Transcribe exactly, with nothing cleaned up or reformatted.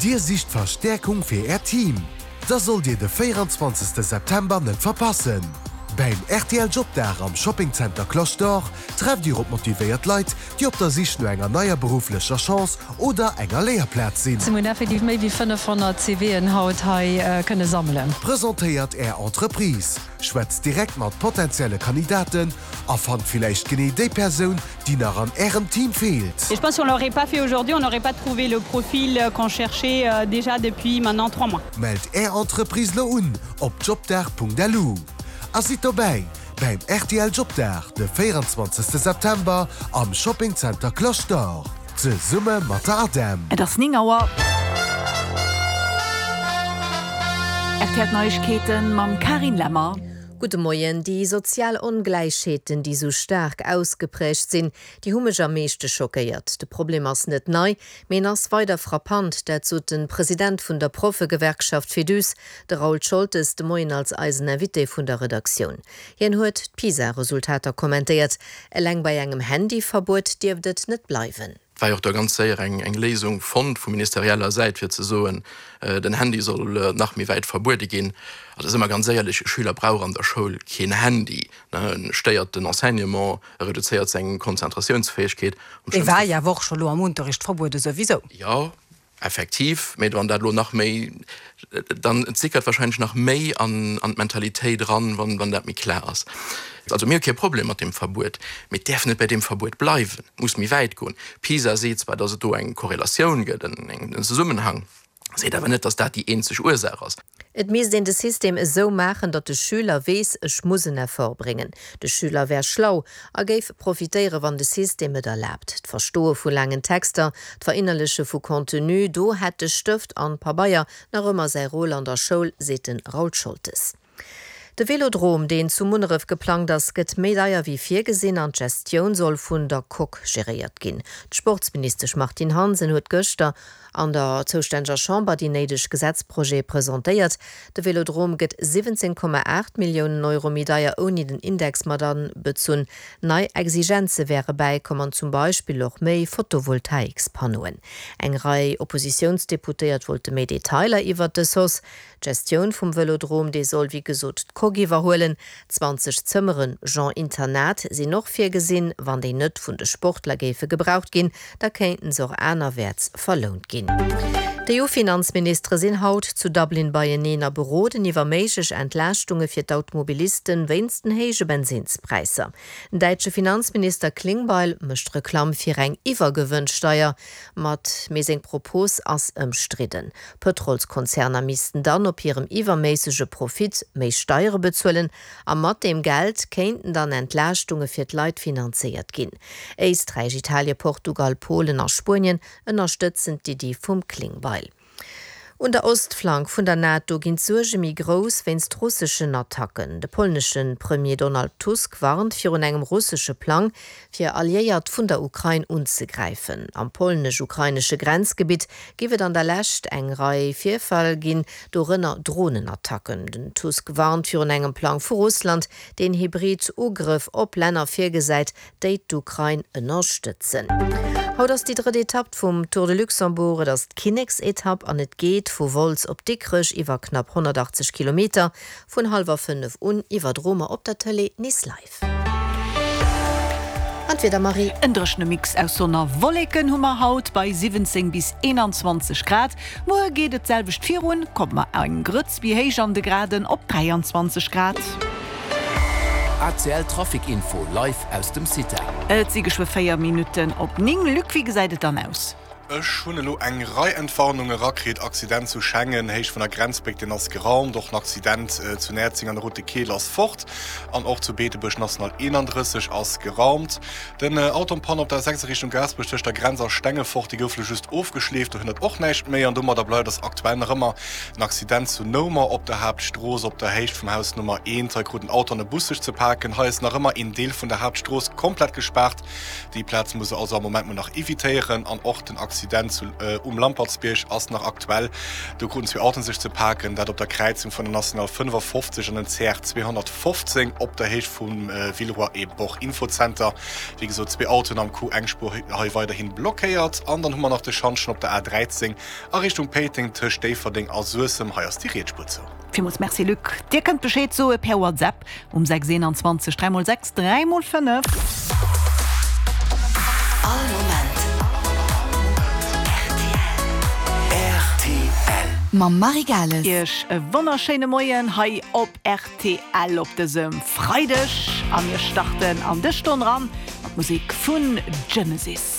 Dir sicht Verstäerkung fir Äert Team? Da sollt Dir de véieranzwanzegste September net verpassen! Beim rtl Jobdag am Shopping Center Cloche d'Or trefft Dir op motivéiert Leit, déi op der Sich no enger neier berufflecher Chance oder enger Léierplaz sinn. Mir hunn effektiv méi wéi fënnefhonnert CVen haut hei kënne sammelen. Presentéiert Är Entreprise, schwätzt direkt mat potenzielle Kandidaten a fannt villäicht genee déi Persoun, déi nach an Ärem Team feelt. Et je pense si on l'aurait pas fait aujourd'hui, on n'aurait pas trouvé le profil qu'on cherchait déjà depuis maintenant trois mois. Mellt Är Entreprise lo un op jobdag.lu a sidd dobäi beim rtl Jobdag de véieranzwanzegste September am Shopping Center Cloche d'Or zesumme mat der ADEM. Et ass néng Auer. R T L Neiegkeeten mam Carine Lemmer. Gudde Moien. Déi sozial Ongläichheeten, déi sou staark ausgeprägt sinn, déi hu mech am meeschte schockéiert. De Problem ass net nei, mee en ass weider frappant. Dat sot de President vun der Proffegewerkschaft Féduse, de Raoul Scholtes, de Moien als eisen Invité vun der Redaktioun. Hien huet d'PISA-Resultater kommentéiert. Eleng bei engem Handyverbuet dierft et net bleiwen. Et war jo och da ganz séier eng eng Léisung fonnt vu ministerieller Säit, fir ze soen, den Handy soll nach méi wäit verbuede ginn. Also si mer ganz éierlech, e Schüler brauch an der Schoul keen Handy, ne, e stéiert den Enseignement, e reduzéiert seng Konzentratiounsfäegkeet. Am Dee war schlimmste. jo awer och scho lo am Unterricht verbuede souwisou. Jo, Effektiv, mee wann dat elo nach méi, dann et sickert wahrscheinlech nach méi an an d'Mentalitéit eran, wann wann dat méi klar ass. Also mir hu kee Problem mat deem Verbuet, mee et däerf net bei deem Verbuet bleiwen, et muss méi wäit goen. PISA seet zwar, datt et do eng Korrelatioun gëtt, en Zesummenhang, seet awer net, datt dat déi eenzeg Ursaach ass. Et misst een de System esou maachen, datt de Schüler weess, ech muss en Effort bréngen. De Schüler wär schlau a géif profitéieren, wann de System et erlaabt. D'Verstoe vu laangen Texter, d'Verinnerleche vu Contenu, do hätt de Stëft an Pabeier nach ëmmer säi Rôle an der Schoul, seet de Raoul Scholtes. De Velodrom, deen zu Munneref geplangt ass, gëtt méi deier wéi virgesinn an d'Gestioun soll vun der Coque geréiert ginn. D'Sportsministesch Martine Hansen huet gëschter an der zoustänneger Chamber déi néideg Gesetzprojete presentéiert. De Velodrom gëtt siwwenzéng Komma aacht Milliounen Euro méi deier, ouni den Index mat abezunn. Nei Exigenze wäre bäikomm an zum Beispill och méi Photovoltaikspannoen. Eng Rei Oppositiounsdeputéiert wollte méi Detailer iwwert dës Hausse. D'Gestioun vum Vëlodrom, déi soll wéi gesot d'Coque iwwerhuelen. Zwanzeg Zëmmeren, genre Internat, sinn och virgesinn. Wann déi net vun de Sportler géife gebraucht ginn, da kéinten se och anerwäerts verlount ginn. D'EU-Finanzministere sinn haut zu Dublin beieneen a beroden iwwer méiglech Entlaaschtunge fir d'Automobilisten wéinst den héije Bensinnspräisser. Den däitsche Finanzminister Klingbeil mécht Reklamm fir eng Iwwergewënnsteier mat, mee seng Propos ass ëmstridden. Pëtrolskonzerner missten dann op hirem iwwerméissege Profit méi Steiere bezuelen a mat deem Geld kéinten dann Entlaaschtunge fir d'Leit finanzéiert ginn. Éisträich, Italien, Portugal, Polen a Spuenien ënnerstëtzen d'Iddi vum Klingbeil. Un der Ostflank vun der NATO ginn d'Suerge méi grouss wéinst russeschen Attacken. De polnesche Premier Donald Tusk warnt virun engem russesche Plang, fir Alliéiert vun der Ukrain unzegräifen. Am polnesch-ukrainesche Grenzgebitt géif et an der Lescht eng Rei Virfäll ginn, dorënner Dronenattacken. Den Tusk warnt virun engem Plang vu Russland, deen hybrid Ugrëff op Länner virgesäit, déi d'Ukrain ënnerstëtzen. Haut ass déi drëtt Etapp vum Tour de Luxembourg. Et ass d'Kinneksetapp an et geet vu Wolz op Dikrech iwwer knapp honnertachtzeg Kilometer. Vun hallwer fënnef un iwwerdroe mer op der Tëlee nees live. An d'Wieder, Marie? En dréchene Mix aus Sonn a Wolleken hu mer haut bei siwwenzéng bis eenanzwanzeg Grad. Muer geet et d'selwecht virun, komme mer eng Grëtz méi héich an de Graden op dräianzwanzeg Grad. A C L Trafic Info live aus dem CITA. Et si geschwë véier Minutten op néng. Luc, wéi gesäit et dann aus? Ech hunn elo eng Rei Entwarnunge rakritt, Accident zu Schengen, Héicht vun der Grenzbréck, deen ass geraumt, och en Accident zu Näerzeng an der Route de Keel ass fort an och zu Beetebuerg National eenandrësseg ass geraumt. Den Auto en panne op der sechs a Richtung Gaasperech tëscht der Grenz a Stengefort, dee gouf elo just ofgeschleeft, do hënnt och näischt méi an domadder bleift ass aktuell nach ëmmer en Accident zu Noumer op der Haaptstrooss op der Héicht vum Haus Nummer eent. Hei krut en Auto an e Bus sech ze paken. Hei ass nach ëmmer een Deel vun der Haaptstrooss komplett gespaart. Déi Plaz muss der also am Moment mol nach evitéieren an och den Accident Accident zu um Lampertsbierg ass nach aktuell. Do kruten zwee Autoen sech ze paken, dat op der Kräizung vun der National fënnefafofzeg an den C R zweehonnertfofzéng op der Héicht vum Villeroy et Boch Infozenter. Wéi gesot, zwee Autoen am Coup, eng Spuer hei weiderhi blockéiert. An dann hu mer nach de Schantjen op der A dräizéng a Richtung Péiteng tëscht Déifferdeng a Suessem. Hei ass déi riets Spuer zou. Villmools Merci Luc. Dir kënnt Bescheed soe per WhatsApp um sechs eenanzwanzeg dräi mol sechs dräi mol fënnef. All Moment rtl. Mam Marie Gales. Iech e wonnerschéine Moien hei op rtl op dësem Freideg a mir starten an dës Stonn ran mat Musek vun Genesis.